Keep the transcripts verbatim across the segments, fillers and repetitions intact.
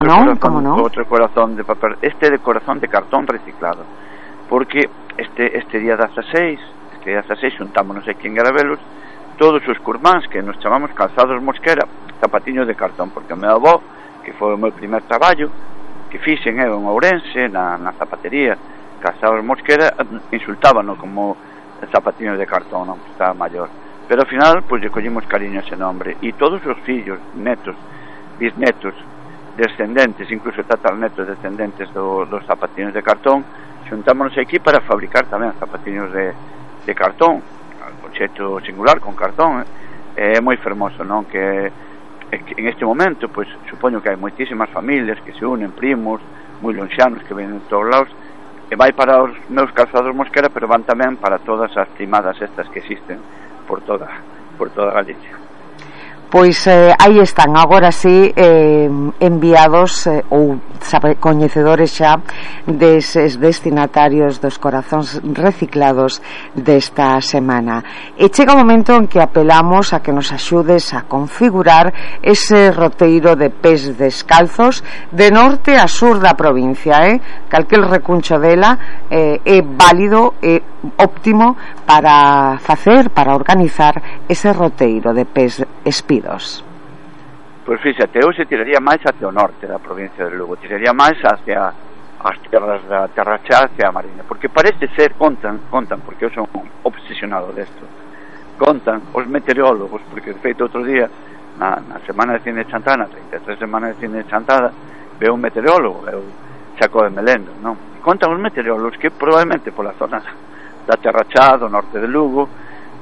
Non, como non? Outro corazón de papel, este de corazón de cartón reciclado, porque este este día dezaseis, este día dezaseis xuntámonos aquí en Garabelos todos os curmáns que nos chamamos Calzados Mosquera, zapatiños de cartón, porque o meu avó, que foi o meu primer traballo, que fixen eu en Ourense, na, na zapatería Calzados Mosquera, insultábano como zapatiños de cartón, non, estaba maior, pero ao final, pois, lle collimos cariño a ese nombre, e todos os fillos, netos, bisnetos, descendentes, incluso tatarnetos descendentes do, dos zapatiños de cartón, xuntámonos aquí para fabricar tamén zapatiños de, de cartón, con xeito singular, con cartón, é eh? moi fermoso, non? Que, que en este momento, pois, supoño que hai moitísimas familias que se unen, primos, moi lonxanos que ven de todos lados, e vai para os meus Calzados Mosquera, pero van tamén para todas as primadas estas que existen por toda, por toda Galicia. Pois eh, aí están, agora sí, eh, enviados eh, ou sabe, coñecedores xa deses destinatarios dos corazóns reciclados desta semana. E chega o momento en que apelamos a que nos axudes a configurar ese roteiro de pés descalzos de norte a sur da provincia, eh? Calquel recuncho dela eh, é válido e óptimo para facer, para organizar ese roteiro de pés espidos. Pois fíxate, eu se tiraría máis hacia o norte da provincia de Lugo, tiraría máis hacia as terras da Terra Chá, hacia a Mariña, porque parece ser, contan, contan, porque eu son obsesionado desto, contan os meteorólogos, porque de feito outro día, na, na semana de cine de Chantada, na trinta e tres semana de cine de Chantada, veo un meteorólogo, veo Chaco de Melendo, non? Contan os meteorólogos que probablemente pola zona da Terra Chá, do norte de Lugo,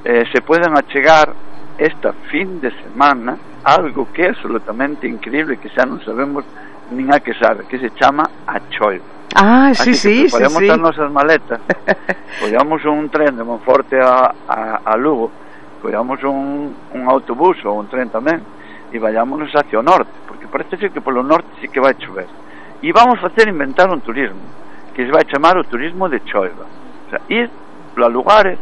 eh, se poden achegar esta fin de semana algo que é absolutamente increíble, que xa non sabemos nin a que sabe, que se chama a choiva. Ah, sí, sí, sí, podemos sí. as nosas maletas, collamos un tren de Monforte a, a, a Lugo, collamos un, un autobús ou un tren tamén, e vayámonos hacia o norte, porque parece ser que polo norte sí que vai chover, e vamos facer inventar un turismo que se vai chamar o turismo de choiva, o sea, ir a lugares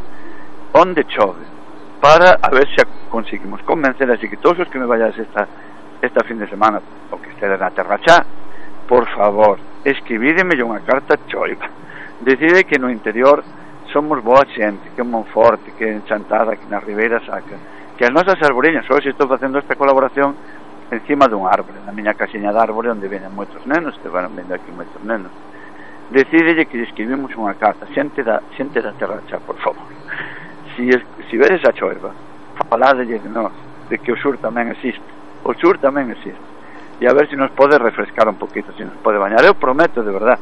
onde chove, para a ver se conseguimos convencer, así que todos os que me vayas esta esta fin de semana, o que estedes na Terra Chá, por favor, escribídeme unha carta choiva, decide que no interior somos boa xente, que en Monforte, que en Chantada, que na Ribeira Sacra, que as nosas arboriñas, hoxe estou facendo esta colaboración encima dun árbore, na miña casiña de árbore onde veñen moitos nenos, que van vendo aquí moitos nenos, decídelle que escribimos unha carta, xente da, xente da Terra Chá, por favor. Si, es, si vedes a choiva, faladelle de nós, de que o sur tamén existe, o sur tamén existe, e a ver se si nos pode refrescar un poquito, se si nos pode bañar. Eu prometo, de verdad,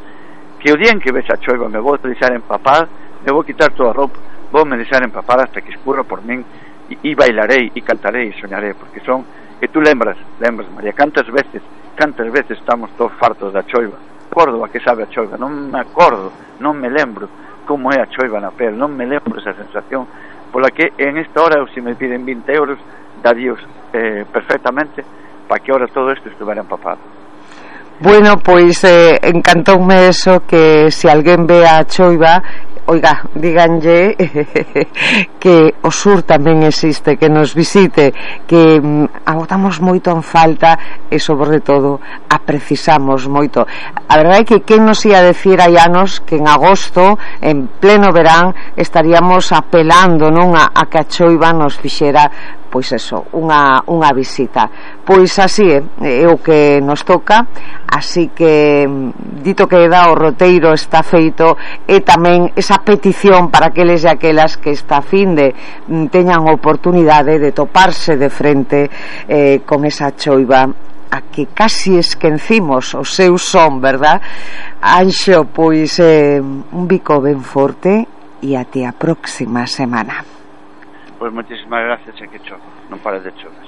que o día en que vexa a choiva me vou deixar empapar, me vou quitar toda a roupa, vou me deixar empapar hasta que escurra por min, e, e bailarei, e cantarei, e soñarei, porque son, que tú lembras, lembras, María, cantas veces, cantas veces estamos todos fartos da choiva, acordo a que sabe a choiva, non me acordo, non me lembro como é a choiva na pel, non me lembro esa sensación pola que en esta hora, se me piden vinte euros, daríos eh, perfectamente para que ahora todo isto estuvera empapado. Bueno, pois eh, encantoume eso, que se alguén ve a choiva, oiga, díganlle que o sur tamén existe, que nos visite, que mm, agotamos moito en falta e sobre todo a precisamos moito. A verdade é que quen nos ia decir hai anos que en agosto, en pleno verán, estaríamos apelando, non, a, a que a choiva nos fixera pois eso, unha, unha visita. Pois así é, é o que nos toca, así que dito que dá o roteiro está feito, e tamén esa petición para aqueles e aquelas que esta fin de teñan oportunidade de toparse de frente eh, con esa choiva a que casi esquecimos o seu son, verdad? Anxo, pois eh, un bico ben forte e até a próxima semana. Pois moitísimas gracias, e que chove, non pares de chover.